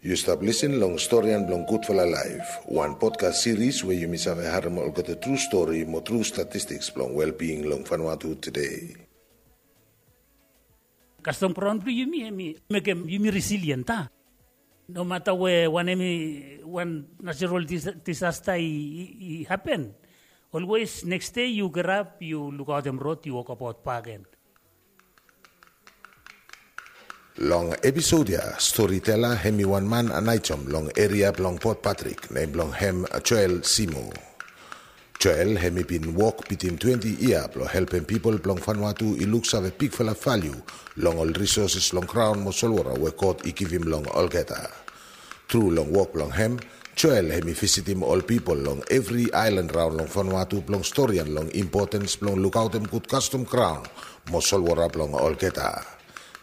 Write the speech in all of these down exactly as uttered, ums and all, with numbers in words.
Yu stap lisin long Storian blong Gudfala Laef, wan podcast series we yumi save harem olgeta tru stori mo tru statistiks blong welbing long Vanuatu today. Kastom graon blong yumi hemi mekem yumi resilient a. Nomata we wanem i wan natural disasta i hapen, olwes neks dei yu gerap, yu lukaotem rod, yu wokabaot bakegen. Long episod ya, storitela hemi wan man anaejom long eria blong Port Patrick, nem blong hem Joel Simo. Joel hemi bin wok bitim twenti yia blong helpem pipol blong Vanuatu i luksave bigfala valiu long ol risoses long graon mo solwora we God i givim long olgeta. Tru long wok blong hem, Joel hemi visitim ol pipol long evri aelan raon long Vanuatu blong storian long impotens blong lukaotem gud kastom graon mo solwora blong olgeta.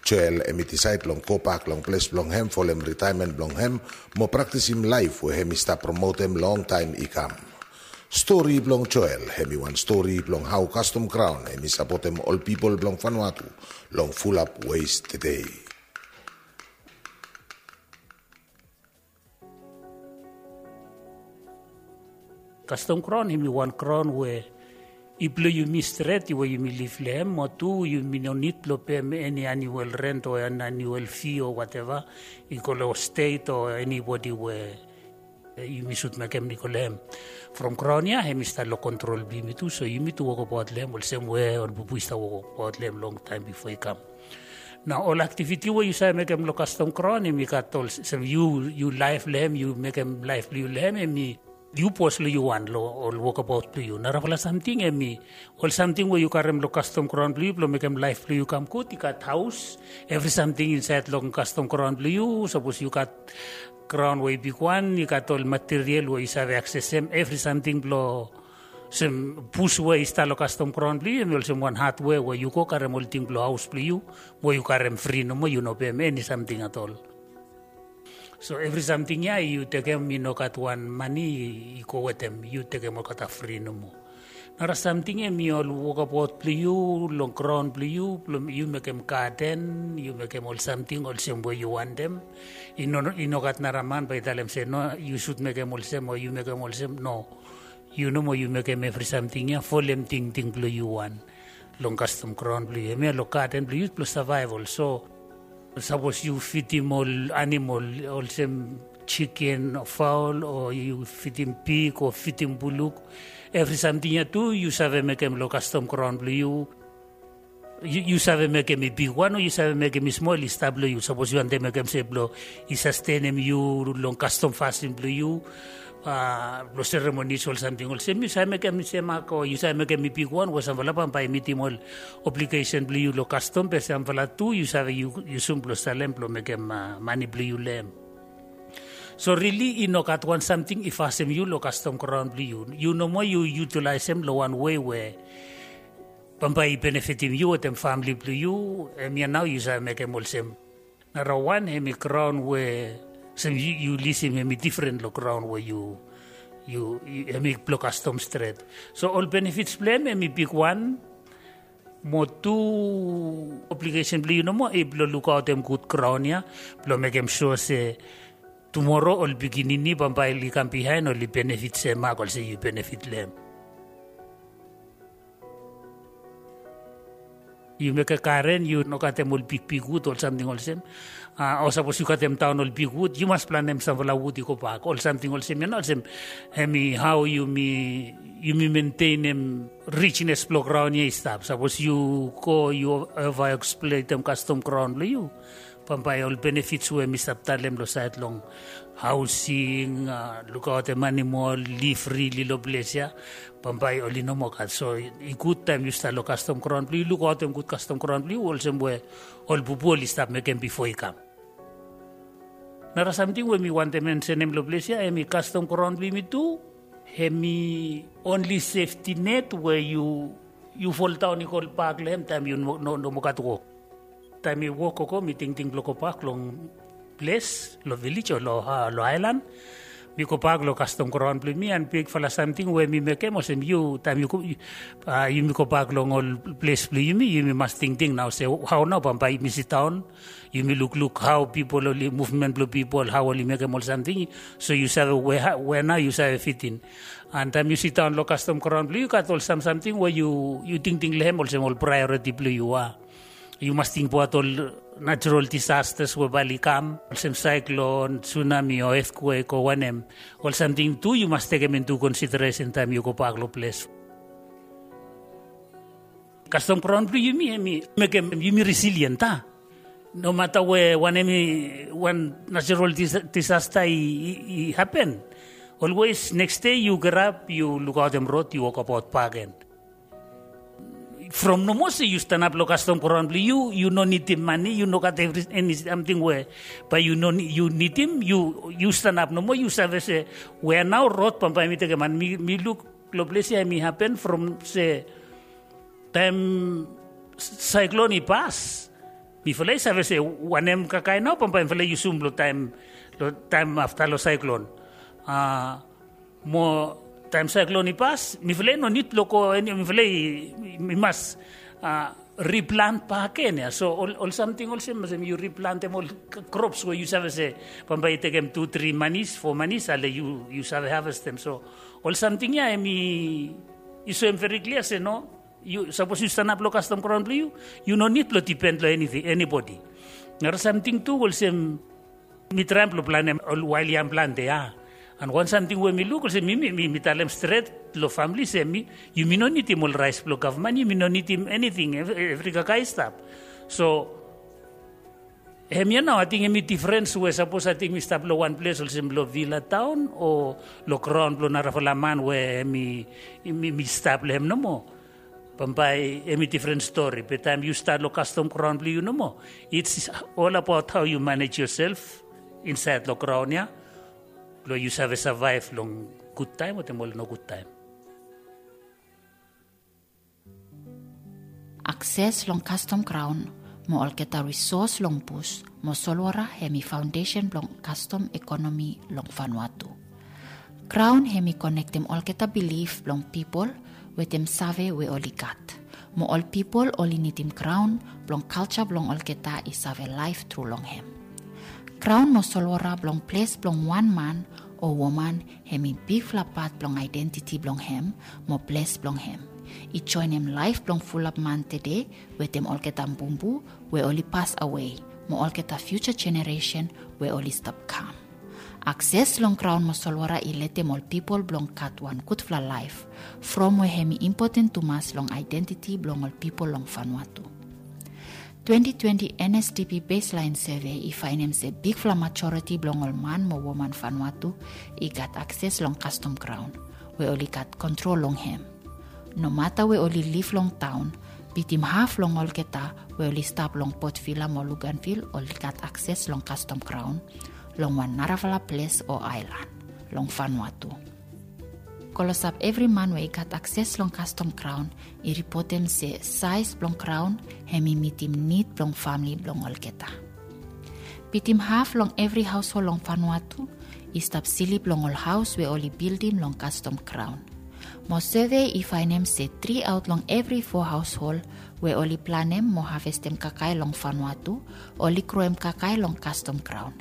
Joel hemi disaed blong gobak long ples blong hem folem ritaemen blong hem mo praktisim laef we hemi stap promotem longtaem i kam. Stori blong Joel hemi wan stori blong hao kastom graon hemi sapotem ol pipol blong Vanuatu long fulap wes tedei. Kastom graon hemi wan graon we i blong yumi stret we yumi liv long hem, mo tu yumi no nid blong pem eni anuel rent o eni anuel fi o wateva i go long stet o enibodi we yumi sud mekem i go long hem. From graon ya hemi stap long kontrol blong yumi tu, so yumi tu wokabaot long hem olsem we ol bubu i stap wokabaot long hem longtaem bifo i kam. Nao ol aktiviti we yu save mekem long kastom graon hemi gat olsem yu laef long hem, yu mekem laef blong yu long hem, hemi yu bos long yu wan long ol wokabaot blong yu. Narafala samting hemi ol samting we yu karem long kastom graon blong yu blong mekem laef blong yu kam gud, i gat haos, evri samting insaed long kastom graon blong yu. Sapos yu gat graon we i bigwan, i gat ol material we yu save aksesem evri samting blong olsem bus we i stap long kastom graon blong yu, hemi olsem wan hadwea we yu go karem ol ting blong haos blong yu, we yu karem fri nomo, yu no pem eni samting at ol. So evri samting ya yu tekem, i no gat wan mane i go wetem, yu tekem olgeta fri nomo. Nara samting hemi ol wokabaot blong yu long graon blong yu, blong yu mekem gaden, yu mekem ol samting olsem we yu wantem. I no, i no gat nara man bae i talem se no, yu sud mekem olsem o yu mekem olsem, no. Yu nomo yu mekem evri samting ya folem tingting blong yu wan long kastom graon blong yu. Hemia long gaden blong yu blong savaeval. So sapos yu fidim ol anamol olsem jiken o faol o yu fidim pig o fidim buluk, evri samting ya tu yu save mekem long kastom graon blong yu. Yu save mekem i bigwan o yu save mekem i smol, i stap long yu. Sapos yu wantem mekem se blong i sastenem yu long kastom fasin blong yu, blong seremonis ol samting olsem, yu save mekem i semak o yu save mekem i bigwan we samfala bambae i mitim ol obligesen blong yu long kastom, be samfala tu yu save yusum blong salem blong mekem mane blong yu long hem. So rili i no gat wan samting i fasem yu long kastom graon blong yu. Yu nomo yu yutalaesem long wan wei we bambae i benefitim yu wetem famili blong yu. Hemia nao yu save mekem olsem. Nara wan hemi graon we olsem yu lisim hemi difren long graon we yu, hemi blong kastom stret. So ol benefits blong hem hemi bigwan. Mo tu obligesen blong yu nomo i blong lukaotem gud graon ya, blong mekem sua se tumoro ol pikinini bambae oli kam bihaen oli benefit semak olsem yu benefit long hem. Yu mekem garen, yu no gatem ol bigbikwud ol samting olsem. O sapos yu gatem daon ol bigwud, yu mas planem samfala wud i gobak, ol samting olsem ya nao olsem. Hemi hao yumi mentenem rijnes blong graon ya i stap. Sapos yu go yu ova eksploetem kastom graon blong yu, bambae ol benefits we mi stap talem long saed long haosing, lukaotem anamol, liv fri long ples ya, bambae oli no moa gat. So i gud taem yu stap long kastom graon blong yu, lukaotem gud kastom graon blong yu olsem we ol bubu oli stap mekem bifo i kam. Nara samting we mi wantem mensenem long ples ya, hemi kastom graon blong yumi tu hemi onli sefti net we yu foldaon i go bak long hem taem yu no moa gat wok. Taem mi wok gogo mi tingting blong gobak long ples, long vilej o long aelan, Mi gobak long kastom graon blong yumi, an bigfala samting we mi mekem olsem yu, taem yu go, yumi gobak long ol ples blong yumi, yumi mas tingting nao se hao nao bambae yumi sidaon, yumi lukluk hao pipol oli, muvmen blong pipol, hao oli mekem ol samting. So yu save we nao yu save fitin. An taem yu sidaon long kastom graon blong yu, gat ol samsamting we yu tingting long hem olsem ol praeoriti blong yu a. Yu mas tingbaot ol natural disasters we bae oli kam, olsem saeklon, sunami o etkwek o wanem. Ol samting tu yu mas tekem intu konsideresen taem yu gobak long ples. Kastom graon blong yumi hemi mekem yumi resilient a. Nomata we wanem i, wan natural disasta i hapen, olwes neks dei yu gerap, yu lukaotem rod, yu wokbaot bakegen. From nomo se yu stanap long kastom graon blong yu, yu no nidim mane, yu no gat evri eni samting we bae yu nidim, yu stanap nomo, yu save se we nao rod bambae mi tekem. An mi luk long ples ya hemi hapen from se taem saeklon i pas, mifala i save se wanem kakae nao bambae mifala i yusum long taem afta long saeklon. Mo taem saeklon i pas, mifala i no nid blong go eni, mifala i mas riplant bakegen ya. So ol samting olsem, olsem yu riplantem ol krops we yu save se bambae i tekem tu tri manis, fo manis ale yu save havestem. So ol samting ya hemi soem veri klia se no, sapos yu stanap long kastom graon blong yu, yu no nid blong dipen long enibodi. Nara samting tu olsem, mi traem blong planem ol wael yam plante ya. An wan samting we mi luk olsem, mi talem stret long famle se yumi no nidim ol raes blong gavman, yumi no nidim eniting, evri kakae i stap. So hemia nao ating hemi difrens we sapos ating mi stap long wan ples olsem long vila taon o long graon blong narafala man we hemi mi stap long hem nomo, bambae hemi difren stori. Be taem yu stat long kastom graon blong yu nomo, it's all about how you manage yourself insaed long graon ya, blong yu save savaev long gudtaem wetem ol nogudtaem. Akses long kastom graon mo olgeta risos long bus mo solwara hemi faondesen blong kastom ekonomi long Vanuatu. Graon hemi konektem olgeta bilif blong pipol wetem save we oli gat. Mo ol pipol oli nidim graon blong kalja blong olgeta i save laef tru long hem. Graon mo solwara blong ples blong wan man o woman hemi bigfala pat blong aedentiti blong hem mo ples blong hem. I joenem laef blong fulap man tede wetem olgeta bumbu we oli pasawe mo olgeta fiuja jeneresen we oli stap kam. Akses long graon mo solwara i letem ol pipol blong gat wan gudfala laef from we hemi impoten tumas long aedentiti blong ol pipol long Vanuatu. Twenti twenti N S D P baseline survey i faenem se bigfala majoriti blong ol man mo woman Vanuatu i gat akses long kastom graon we oli gat kontrol long hem. Nomata we oli liv long taon, bitim haf long olgeta we oli stap long Port Vila mo Luganville oli gat akses long kastom graon long wan narafala ples o aelan long Vanuatu. Klosap evri man we i gat akses long kastom graon i ripotem se saes blong graon hemi mitim nid blong famle blong olgeta. Bitim haf long evri haoshol long Vanuatu i stap slip long ol haos we oli bildim long kastom graon. Mo survey i faenem se tri aot long evri fo haoshol we oli planem mo havestem kakae long Vanuatu oli groem kakae long kastom graon.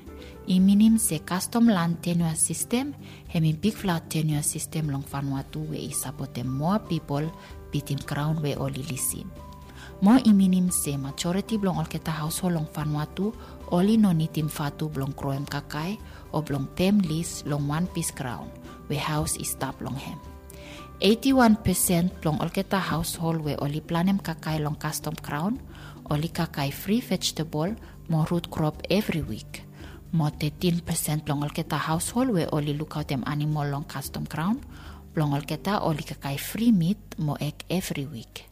I minim se kastom lan tenua sistem hemi bigfala tenua sistem long Vanuatu we i sapotem moa pipol bitim graon we oli lisim. Mo i minim se majoriti blong olgeta haoshol long Vanuatu oli no nidim vatu blong groem kakae o blong pem lis long wan pis graon we haos i stap long hem. Eiti wan pesen blong olgeta haoshol we oli planem kakae long kastom graon oli kakae fri vejetebol mo rut krop evri wik. Mo tetin pesen blong olgeta haoshol we oli lukaotem anamol long kastom graon blong olgeta oli kakae fri mit mo eg evri wik.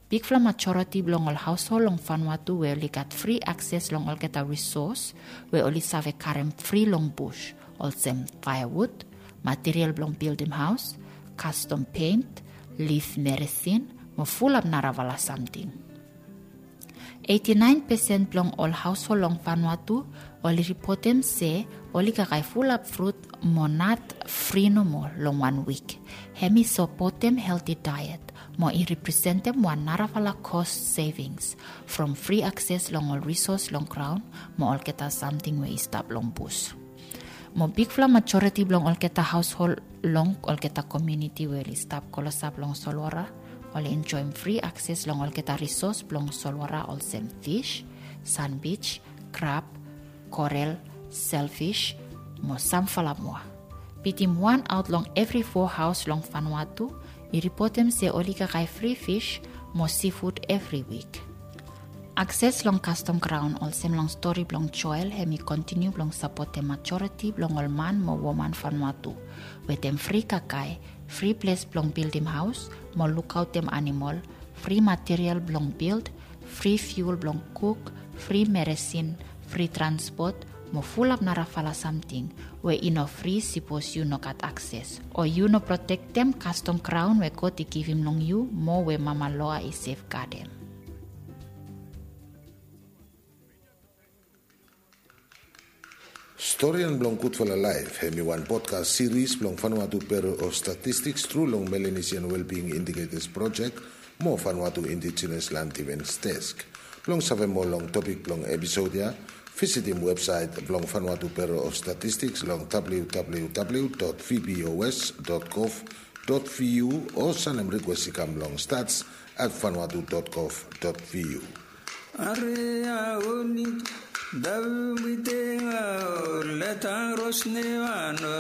Bigfala majoriti blong ol haoshol long Vanuatu we oli gat fri akses long olgeta risos we oli save karem fri long bus, olsem faeawud, material blong bildim haos, kastom pent, lif meresin mo fulap narafala samting. Eighty nine percent blong ol haoshol long Vanuatu oli ripotem se oli kakae fulap frut mo nat fri nomo long wan wik. Hem i sapotem helti daet mo i representem wan narafala kos sevings from fri akses long ol risos long graon mo olgeta samting we i stap long bus. Mo bigfala majoriti blong olgeta haoshol long olgeta komuniti we oli stap klosap long solwara oli enjoem fri akses long olgeta risos blong solwara olsem fis, sanbij, krab, korel, selfis mo samfala moa. Bitim wan aot long evri fo haos long Vanuatu i ripotem se oli kakae fri fis mo sifud evri wik. Akses long kastom graon olsem long stori blong Joel hem i kontiniu blong sapotem majoriti blong ol man mo woman Vanuatu wetem fri kakae, fri ples blong bildim haos mo lukaotem animol, fri material blong bild, fri fiul blong kuk, fri meresin, fri transpot mo fulap narafala samting we i no fri sipos yu no gat akses o yu no protektem kastom graon we God i givim long yu mo we mama loa i sefgadem. Storian blong Gudfala Laef hem i wan podcast series blong Vanuatu Bureau of Statistics tru long Melanesian Wellbeing Indicators Project mo Vanuatu Indigenous Land Defense Desk. Blong save moa long topik blong episod ya, visitim websait blong Vanuatu Bureau of Statistics long www.vbos.gov.vt o sanem rikwes i kam long stats at vanuatu dot gov dot vu. Are a oni, dabu mi tenga o letang ros ne vano.